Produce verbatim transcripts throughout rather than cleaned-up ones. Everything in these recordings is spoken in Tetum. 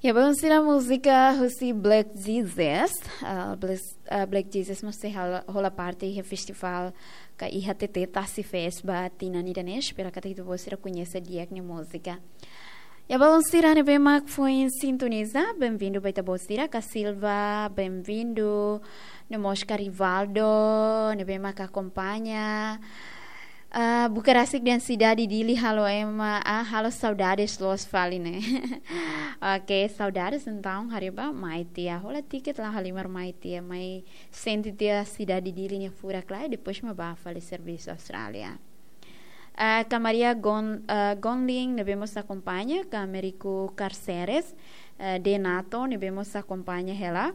Ya, belun sira, múzika husi Black Jesus. Ah, Black, ah, Black Jesus mós sei hal-, hola parte iha festivál ka iha T T Tasi Fest ba tinan ida-ne'e, espera katak ita-boot sira koñese di'ak nia múzika. Ya, belun sira ne'ebé mak foin sintoniza, bem-vindu ba ita-boot sira, ka Silva, bem-vindu, no mós ka Rivaldo, ne'ebé mak akompaña. Ah, buka rasik dehan sidade Dili halo ema, ah, halo saudades loos fali ne'e. Oke, saudades entaun, haree bá, mai tiha, hola tiket la halimar mai tiha, mai sente tiha sidade Dili nia furak lai, depois mak bá fali servisu Austrália. Ah, ka Maria Gon-, ah, Gonling, ne'ebé mós akompaña, ka Meriku Carceres, ah, Denato, ne'ebé mós akompaña hela.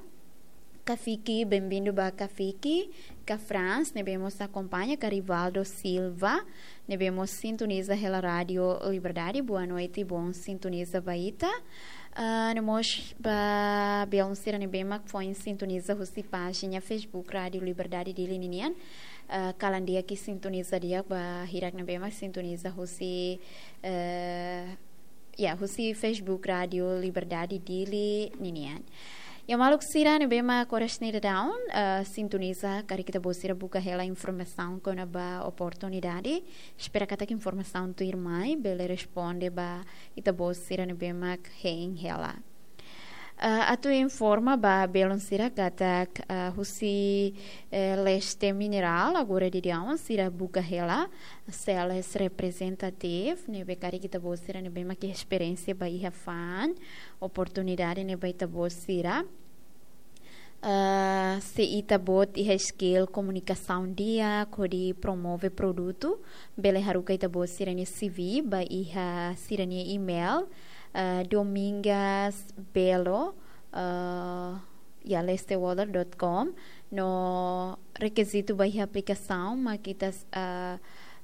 Kafiki, bem-vindu ba Kafiki, ka Franz, ne'ebé mós akompaña, ka Rivaldo Silva, ne'ebé mós sintoniza hela Rádio Liberdade, boa noite, bom sintoniza ba ita. Ah, no mós ba belun sira ne'ebé mak foin sintoniza husi pájina Facebook Rádio Liberdade Dili ninian. Ah, kalan di'ak sintoniza di'ak ba hirak ne'ebé mak sintoniza husi, eh, ya, husi Facebook Rádio Liberdade Dili ninian. Ya, maluk sira ne'ebé mak oras ne'e daudaun, eh, sintoniza, karik ita-boot sira buka hela informasaun kona-ba oportunidade. Espera katak informasaun tuirmai bele responde ba ita-boot sira ne'ebé mak hein hela. Eh, atu informa ba belun sira katak, eh, husi, eh, Leste Mineral, agora daudaun sira buka hela sales representative, ne'ebé karik ita-boot sira ne'ebé mak iha esperiénsia ba iha fa'an, oportunidade ne'e ba ita-boot sira. Eh, se ita-boot iha skill komunikasaun di'ak hodi promove produtu, bele haruka ita-boot sira-nia C V ba iha sira-nia email, eh, domingas belo, eh, ya, lestewater dot com. No rekizitu ba iha aplikasaun mak ita, eh,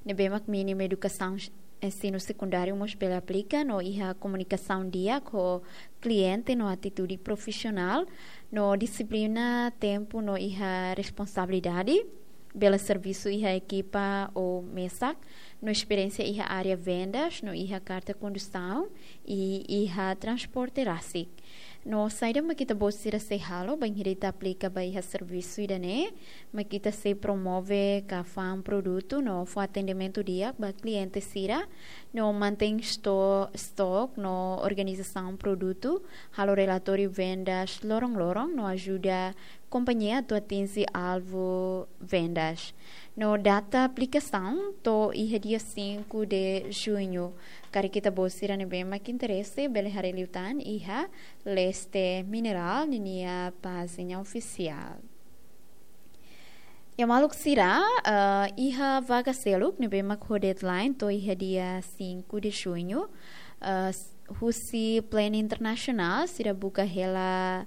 ne'ebé mak mínimu edukasaun ensinu sekundáriu mós bele aplika, no iha komunikasaun di'ak ho kliente no atitude profisionál, no dixiplina, tempu no iha responsabilidade, bele servisu iha ekipa ou mesak, no esperiénsia iha área vendas, no iha karta kondusaun, i iha transporte rasik. No saida mak ita-boot sira sei halo bainhira ita aplika ba iha servisu ida-ne'e, mak ita sei promove ka fa'an produtu no fó atendimentu di'ak ba kliente sira, no mantein esto-, estoque no organizasaun produtu, halo relatóriu vendas loron-loron, no ajuda kompañia atu atinje alvu vendas. No data aplikasaun to'o iha dia cinco de junho. Karik ita-boot sira ne'ebé mak interese, bele haree liután iha Leste Mineral ninia pájina ofisiál. Ya, maluk sira, eh, iha vaga seluk ne'ebé mak ho deadline to'o iha dia cinco de junho, eh, s-, husi Plan Internasionál sira buka hela,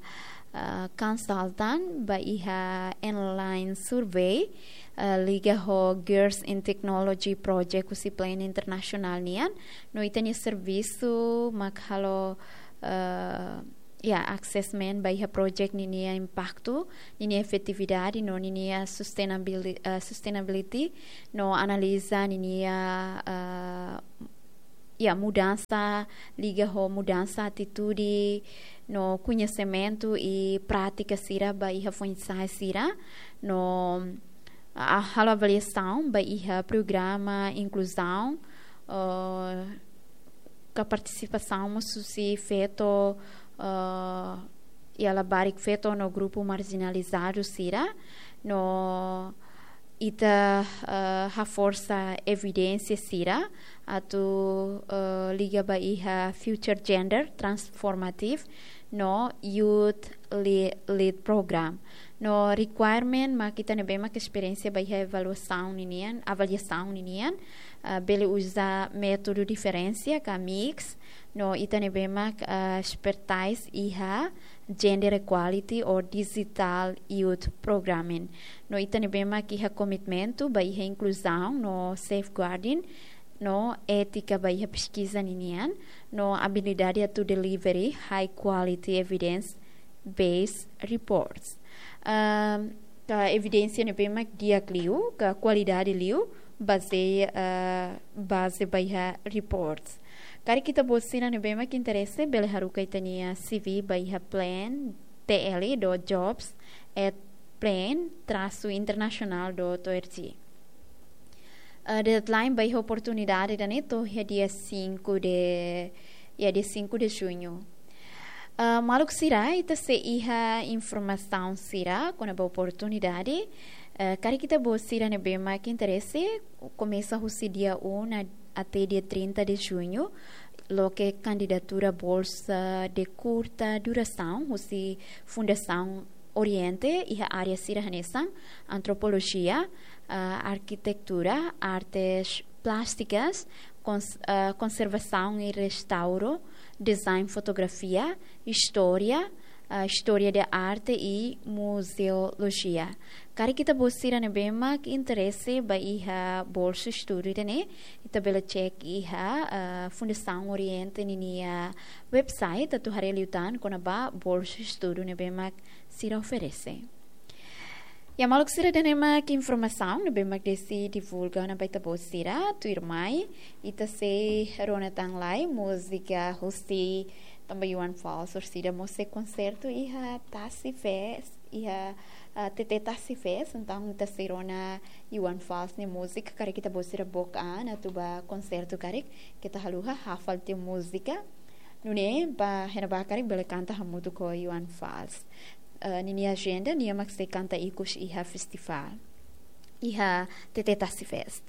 eh, consultant ba iha online survey, eh, liga ho Girls in Technology Project husi Plan Internasionál nian. No ita-nia servisu mak halo, eh, ya, assessment ba iha project ninia impaktu, ninia efetividade, no ninia sustainabili-, eh, sustainability, no analiza ninia, eh, ya, mudansa, liga ho mudansa atitude, no koñesimentu i prátika sira ba iha foin-sa'e sira, no, ah, halo avaliasaun ba iha programa inkluzaun, eh, ka partisipasaun mós husi feto, eh, ya, labarik feto no grupu marjinalizadu sira, no ita, eh, haforsa evidénsia sira atu, eh, liga ba iha Future Gender Transformative no Youth Le-, Lead Program. No requirement mak ita ne'ebé mak esperiénsia ba iha avaliasaun ninian, avaliasaun ninian, ah, bele uza métodu diferensia ka mix, no ita ne'ebé mak, ah, expertise iha gender equality or digital youth programming. No ita ne'ebé mak iha komitmentu ba iha inkluzaun no safeguarding, no étika ba iha peskiza ninian, no abilidade atu delivery high quality evidence based reports. Ahm, ka evidénsia ne'ebé mak di'ak liu, ka kualidade liu, bazeia, ah, baze ba iha reports. Karik ita-boot sira ne'ebé mak interese, bele haruka ita-nia C V ba iha plan T L dot jobs at plan traço internacional dot org. Eh, deadline ba iha oportunidade ida-ne'e to'o iha dia cinco de, ya, dia cinco de junho. Eh, maluk sira, ita sei iha informasaun sira kona-ba oportunidade. Eh, karik ita-boot sira ne'ebé mak interese, komesa husi dia um até dia trinta de junho, loke kandidatura bolsa de curta duração husi Fundasaun Oriente iha área sira hanesan antropolojia, ah, arkitektura, artes plásticas, kons-, ah, konservasaun i restauro, design, fotografia, istória, ah, istória de arte i muzeolojia. Karik ita-boot sira ne'ebé mak interese ba iha bolsa estudu ida-ne'e, ita bele cek iha, ah, Fundasaun Oriente ninia website atu haree liután kona-ba bolsa estudu ne'ebé mak sira oferese. Ya, maluk sira, ida-ne'e mak informasaun ne'ebé mak Desi divulga ona ba ita-boot sira. Tuirmai, ita sei rona tan lai múzika husi tanba Johan Falz orsida mós sei konsertu iha Tasi Fest, iha, ah, T T Tasi Fest. Entaun ita sei rona Johan Falz nia múzika, karik ita-boot sira book an atu ba konsertu karik, keta haluha hafal tiha múzika. Nune'e ba hena ba karik bele kanta hamutuk ho Johan Falz. Eh, ninia ajenda, nia mak sei kanta ikus iha festivál, iha T T Tasi Fest.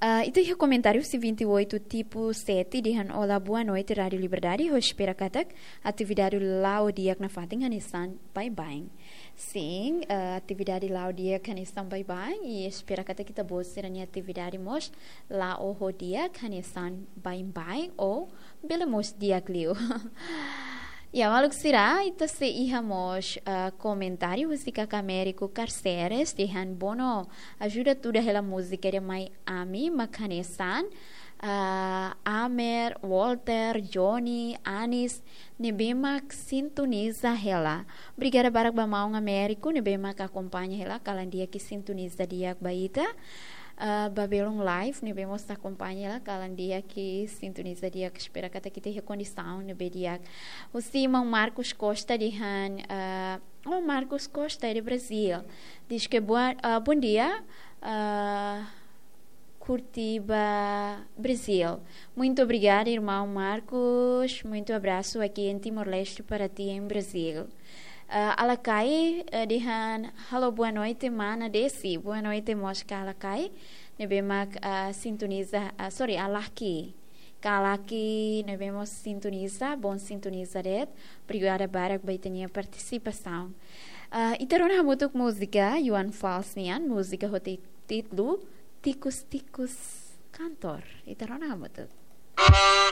Eh, ita iha komentáriu husi vinte e oito Tipo sete dehan: "Olá, boa noite, Rádio Liberdade. Ha'u espera katak atividade la'o di'ak nafatin hanesan baibain." Sin, eh, atividade la'o di'ak hanesan baibain, i espera katak ita-boot sira-nia atividade mós la'o ho di'ak hanesan baibain ou bele mós di'ak liu. Ya, maluk sira, ita sei iha mós, ah, komentáriu husi karik Américo Carceres dehan: "Bono, ajuda tuda hela múzika ida mai ami mak hanesan, ah, Amer, Walter, Johnny, Anis, ne'ebé mak sintoniza hela." Obrigada barak ba maun Américo ne'ebé mak akompaña hela, kalan di'ak i sintoniza di'ak ba ita. Ah, ba belun live ne'ebé mós akompaña hela, kalan di'ak i sintoniza di'ak, espera katak ita iha kondisaun ne'ebé di'ak. Husi maun Marcos Costa dehan, ah, oh, Marcos Costa é de Brasil. Diz que boa, ah, bom dia, ah, Curitiba, Brasil. Muito obrigada, irmão Marcos. Muito abraço aqui em Timor-Leste para ti, em Brasil. Ah, Alakai, eh, dehan: "Halo, boa noite, mana Desi." Boa noite mós ka Alakai ne'ebé mak, ah, sintoniza, ah, sorry, Alaki. Ka Alaki ne'ebé mós sintoniza, bom sintoniza de'it. Obrigada barak ba ita-nia partisipasaun. Ah, ita rona hamutuk múzika Johan Falz nian, múzika ho ti-, títulu Tikus-Tikus Kantor. Ita rona hamutuk.